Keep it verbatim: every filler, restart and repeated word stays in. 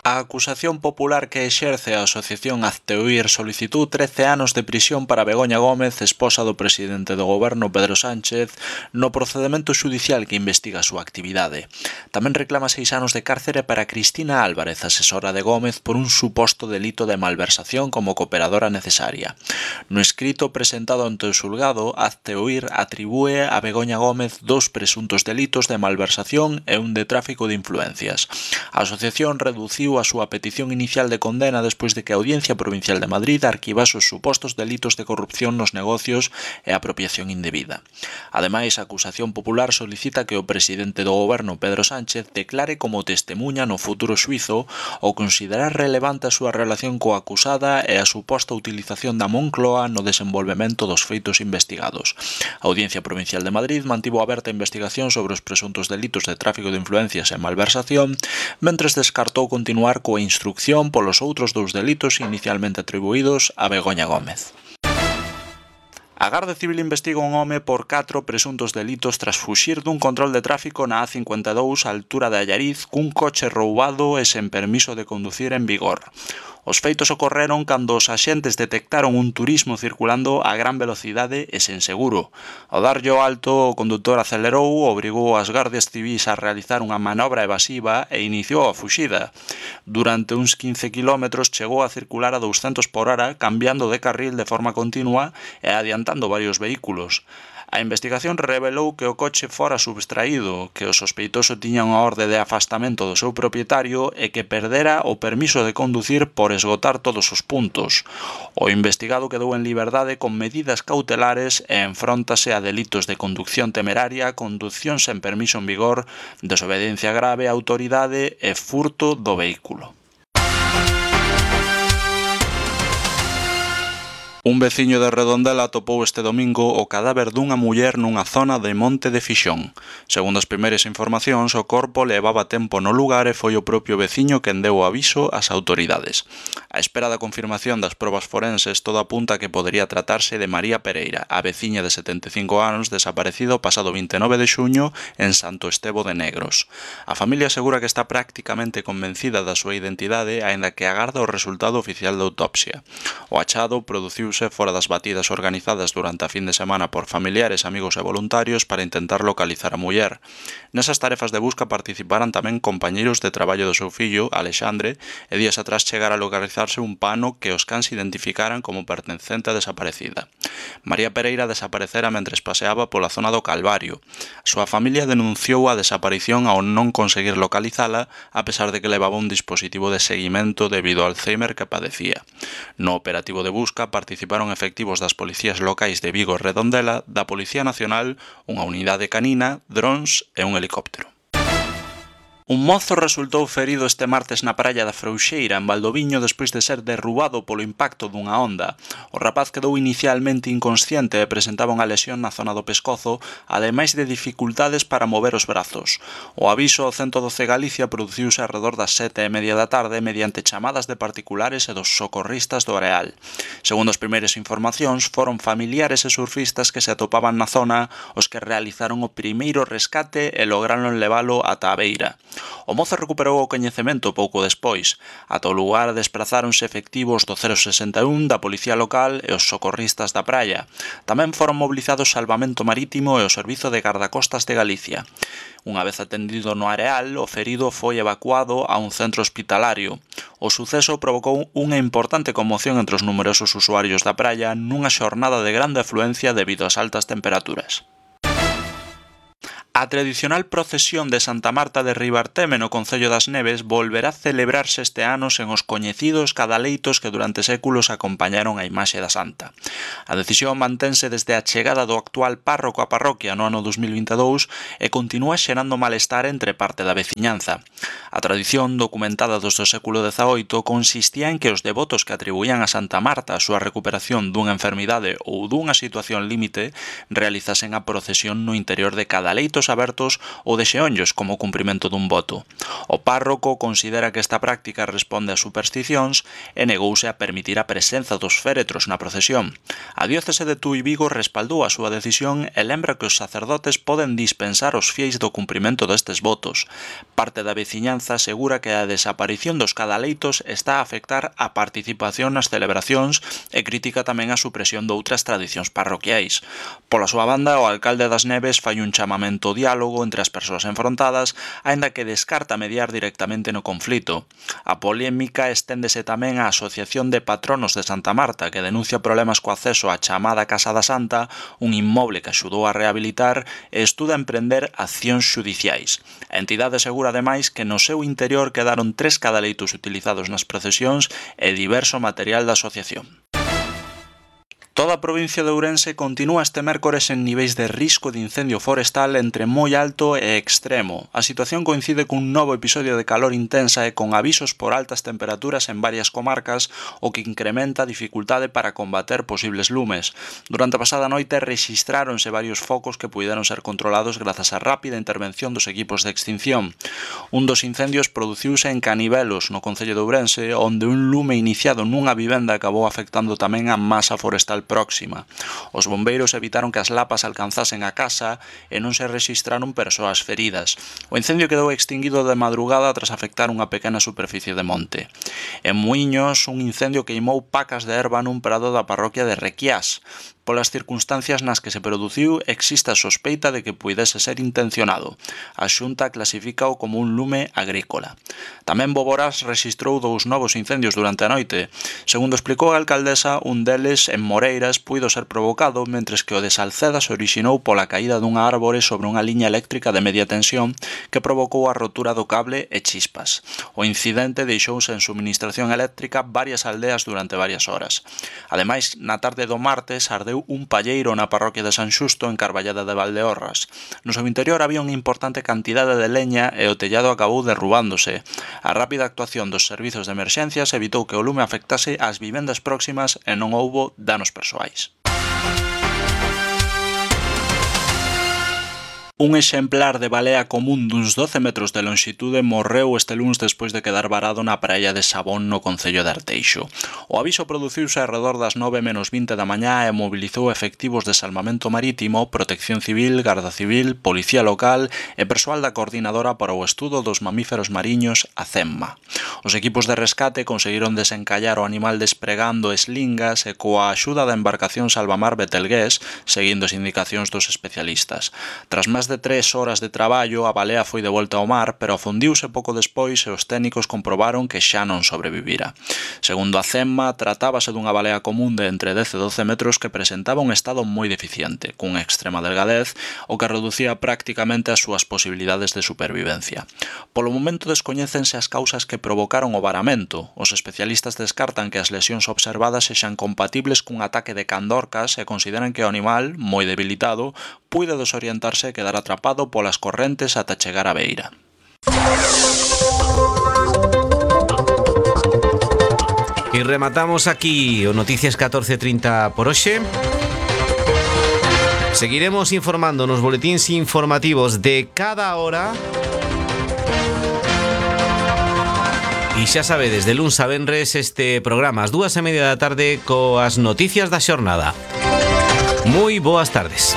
A acusación popular que exerce a Asociación Hazte-Oír solicitou trece anos de prisión para Begoña Gómez, esposa do presidente do goberno Pedro Sánchez, no procedemento xudicial que investiga a súa actividade. Tamén reclama seis anos de cárcere para Cristina Álvarez, asesora de Gómez, por un suposto delito de malversación como cooperadora necesaria. No escrito presentado ante o xulgado, Hazte-Oír atribúe a Begoña Gómez dous presuntos delitos de malversación e un de tráfico de influencias. A asociación reduciu a súa petición inicial de condena despois de que a Audiencia Provincial de Madrid arquivase os supostos delitos de corrupción nos negocios e apropiación indebida. Ademais, a acusación popular solicita que o presidente do goberno Pedro Sánchez declare como testemuña no futuro xuízo ao considerar relevante a súa relación coa acusada e a suposta utilización da Moncloa no desenvolvemento dos feitos investigados. A Audiencia Provincial de Madrid mantivo aberta a investigación sobre os presuntos delitos de tráfico de influencias e malversación, mentres descartou continuar coa instrucción polos outros dous delitos inicialmente atribuídos a Begoña Gómez. A Garda Civil investiga un home por catro presuntos delitos tras fuxir dun control de tráfico na A cincuenta e dous á altura de Allariz cun coche roubado e sen permiso de conducir en vigor. Os feitos ocorreron cando os axentes detectaron un turismo circulando a gran velocidade e sen seguro. Ao darlle o alto, o condutor acelerou, obrigou as gardias civís a realizar unha manobra evasiva e iniciou a fuxida. Durante uns quince kilómetros chegou a circular a douscentos por hora, cambiando de carril de forma continua e adiantando varios vehículos. A investigación revelou que o coche fora subtraído, que o sospeitoso tiña unha orde de afastamento do seu propietario e que perdera o permiso de conducir por esgotar todos os puntos. O investigado quedou en liberdade con medidas cautelares e enfróntase a delitos de conducción temeraria, conducción sen permiso en vigor, desobediencia grave á autoridade e furto do vehículo. Un veciño de Redondela atopou este domingo o cadáver dunha muller nunha zona de Monte de Fixón. Segundo as primeiras informacións, o corpo levaba tempo no lugar e foi o propio veciño quen deu o aviso ás autoridades. A espera da confirmación das probas forenses, todo apunta a que podería tratarse de María Pereira, a veciña de setenta e cinco anos desaparecida o pasado vinte e nove de xuño en Santo Estevo de Negros. A familia asegura que está prácticamente convencida da súa identidade, aínda que agarda o resultado oficial da autopsia. O achado produciu fora das batidas organizadas durante a fin de semana por familiares, amigos e voluntarios para intentar localizar a muller. Nesas tarefas de busca participaran tamén compañeiros de traballo do seu fillo, Alexandre, e días atrás chegara a localizarse un pano que os cans identificaran como pertencente a desaparecida. María Pereira desaparecera mentres paseaba pola zona do Calvario. A súa familia denunciou a desaparición ao non conseguir localizala, a pesar de que levaba un dispositivo de seguimento debido ao Alzheimer que padecía. No operativo de busca participaron Participaron efectivos das policías locais de Vigo e Redondela, da Policía Nacional, unha unidade canina, drons e un helicóptero. Un mozo resultou ferido este martes na praia da Frouxeira, en Valdoviño, despois de ser derrubado polo impacto dunha onda. O rapaz quedou inicialmente inconsciente e presentaba unha lesión na zona do pescozo, ademais de dificultades para mover os brazos. O aviso ao ciento doce Galicia produciuse arredor das sete e media da tarde mediante chamadas de particulares e dos socorristas do Areal. Segundo as primeiras informacións, foron familiares e surfistas que se atopaban na zona os que realizaron o primeiro rescate e lograron levalo ata a beira. O mozo recuperou o coñecemento pouco despois. Ata o lugar desprazáronse efectivos do cero sesenta e un da Policía Local e os socorristas da praia. Tamén foron mobilizados Salvamento Marítimo e o Servizo de Gardacostas de Galicia. Unha vez atendido no Areal, o ferido foi evacuado a un centro hospitalario. O suceso provocou unha importante conmoción entre os numerosos usuarios da praia nunha xornada de grande afluencia debido ás altas temperaturas. A tradicional procesión de Santa Marta de Ribarteme no Concello das Neves volverá a celebrarse este ano sen os coñecidos cadaleitos que durante séculos acompañaron a imaxe da Santa. A decisión mantense desde a chegada do actual párroco á parroquia no ano dos mil vinte e dous e continúa xerando malestar entre parte da veciñanza. A tradición, documentada desde o século dezaoito, consistía en que os devotos que atribuían a Santa Marta a súa recuperación dunha enfermidade ou dunha situación límite realizasen a procesión no interior de cadaleitos abertos ou de xeonllos como cumprimento dun voto. O párroco considera que esta práctica responde a supersticións e negouse a permitir a presenza dos féretros na procesión. A diócese de Tui Vigo respaldou a súa decisión e lembra que os sacerdotes poden dispensar os fieis do cumprimento destes votos. Parte da veciñanza Alcanza asegura que a desaparición dos cadaleitos está a afectar a participación nas celebracións e critica tamén a supresión de outras tradicións parroquiais. Pola súa banda, o alcalde das Neves fai un chamamento ao diálogo entre as persoas enfrontadas, aínda que descarta mediar directamente no conflito. A polémica esténdese tamén á Asociación de Patronos de Santa Marta, que denuncia problemas co acceso á chamada Casa da Santa, un inmoble que axudou a rehabilitar e estuda emprender accións xudiciais. A entidade asegura ademais que no seu interior quedaron tres cadaleitos utilizados nas procesións e diverso material da asociación. Toda a provincia de Ourense continúa este mércores en niveis de risco de incendio forestal entre moi alto e extremo. A situación coincide cun novo episodio de calor intensa e con avisos por altas temperaturas en varias comarcas, o que incrementa a dificultade para combater posibles lumes. Durante a pasada noite rexistráronse varios focos que puideron ser controlados grazas á rápida intervención dos equipos de extinción. Un dos incendios produciuse en Canivelos, no concello de Ourense, onde un lume iniciado nunha vivenda acabou afectando tamén a masa forestal próxima. Os bombeiros evitaron que as lapas alcanzasen a casa e non se rexistraron persoas feridas. O incendio quedou extinguido de madrugada tras afectar unha pequena superficie de monte. En Muiños, un incendio queimou pacas de herba nun prado da parroquia de Requiás. Polas circunstancias nas que se produciu, existe a sospeita de que puidese ser intencionado. A Xunta clasifícao como un lume agrícola. Tamén Boborás rexistrou dous novos incendios durante a noite. Segundo explicou a alcaldesa, un deles en Moreiras puido ser provocado, mentres que o de Salceda se orixinou pola caída dunha árbore sobre unha liña eléctrica de media tensión que provocou a rotura do cable e chispas. O incidente deixouse en suministración eléctrica varias aldeas durante varias horas. Ademais, na tarde do martes ardeu un palleiro na parroquia de San Xusto en Carballeda de Valdeorras. No seu interior había unha importante cantidade de leña e o tellado acabou derrubándose. A rápida actuación dos servizos de emerxencias evitou que o lume afectase ás vivendas próximas e non houbo danos persoais. Un exemplar de balea común duns doce metros de lonxitude morreu este luns despois de quedar varado na praia de Sabón no concello de Arteixo. O aviso produciuse alrededor das nove menos vinte da mañá e mobilizou efectivos de salvamento marítimo, protección civil, garda civil, policía local e persoal da coordinadora para o estudo dos mamíferos mariños, a CEMMA. Os equipos de rescate conseguiron desencallar o animal despregando eslingas e coa axuda da embarcación Salvamar Betelgués, seguindo as indicacións dos especialistas. Tras máis de tres horas de traballo, a balea foi de volta ao mar, pero afundiuse pouco despois e os técnicos comprobaron que xa non sobrevivira. Segundo a CEMMA, tratábase dunha balea común de entre dez e doce metros que presentaba un estado moi deficiente, cunha extrema delgadez, o que reducía prácticamente as súas posibilidades de supervivencia. Polo momento descoñécense as causas que provocaron o varamento. Os especialistas descartan que as lesións observadas sexan compatibles cun ataque de candorcas e consideran que o animal, moi debilitado, puide desorientarse e quedar atrapado polas correntes ata chegar á beira. E rematamos aquí o Noticias catorce trinta por hoxe. Seguiremos informando nos boletíns informativos de cada hora. E xa sabedes, de luns a venres este programa ás dúas e media da tarde coas noticias da xornada. Moi boas tardes.